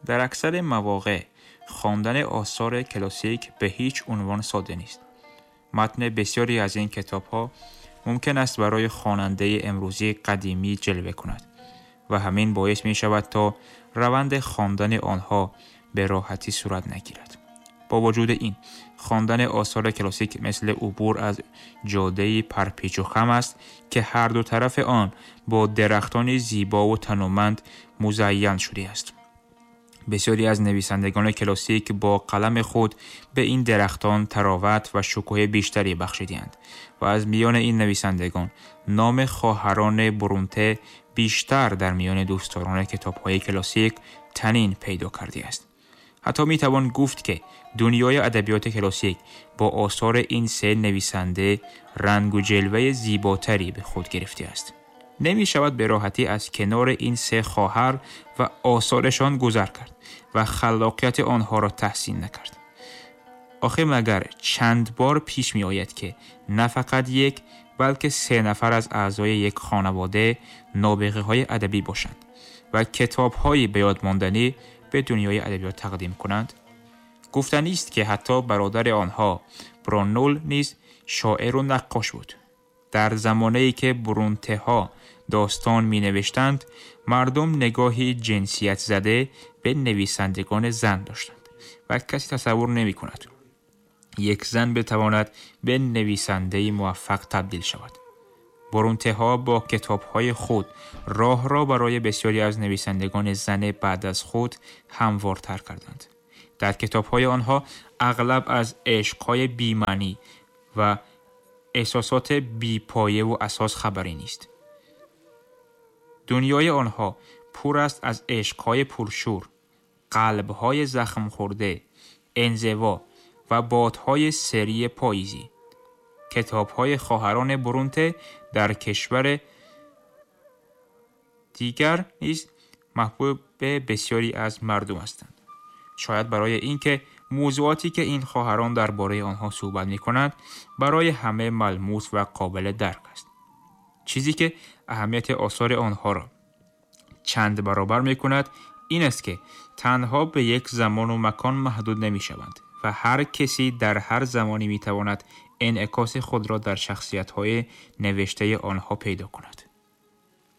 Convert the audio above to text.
در اکثر مواقع خواندن آثار کلاسیک به هیچ عنوان ساده نیست. متن بسیاری از این کتاب‌ها ممکن است برای خواننده امروزی قدیمی جلوه کند و همین باعث می شود تا روند خواندن آنها به راحتی صورت نگیرد. با وجود این، خواندن آثار کلاسیک مثل عبور از جاده‌ای پرپیچ و خم است که هر دو طرف آن با درختان زیبا و تنومند مزین شده است. بسیاری از نویسندگان کلاسیک با قلم خود به این درختان طراوت و شکوه بیشتری بخشیدند و از میان این نویسندگان نام خواهران برونته بیشتر در میان دوستداران کتاب‌های کلاسیک طنین پیدا کرده است. حتی میتوان گفت که دنیای ادبیات کلاسیک با آثار این سه نویسنده رنگ و جلوه زیباتری به خود گرفته است. نمی شود به راحتی از کنار این سه خواهر و آثارشان گذر کرد و خلاقیت آنها را تحسین نکرد. آخه مگر چند بار پیش می آید که نه فقط یک بلکه سه نفر از اعضای یک خانواده نابغه های ادبی باشند و کتاب های به یاد ماندنی به دنیای ادبیات تقدیم کنند؟ گفتنی است که حتی برادر آنها برونول نیز شاعر و نقاش بود. در زمانه‌ای که برونته‌ها داستان می‌نوشتند، مردم نگاهی جنسیت زده به نویسندگان زن داشتند و کسی تصور نمی‌کند یک زن بتواند به نویسنده‌ای موفق تبدیل شود. برونته‌ها با کتاب‌های خود راه را برای بسیاری از نویسندگان زن بعد از خود هموارتر کردند. در کتاب‌های آنها اغلب از عشق‌های بی‌معنی و احساسات بی‌پایه و اساس خبری نیست. دنیای آنها پر است از عشق‌های پرشور، قلب‌های زخم خورده، انزوا و بادهای سری پاییزی. کتاب‌های خواهران برونته در کشور دیگر نیز محبوب بسیاری از مردم هستند. شاید برای اینکه موضوعاتی که این خواهران درباره آنها صحبت می‌کنند برای همه ملموس و قابل درک است. چیزی که اهمیت آثار آنها را چند برابر می‌کند این است که تنها به یک زمان و مکان محدود نمی‌شوند و هر کسی در هر زمانی می‌تواند انعکاس خود را در شخصیت‌های نوشته آنها پیدا کند.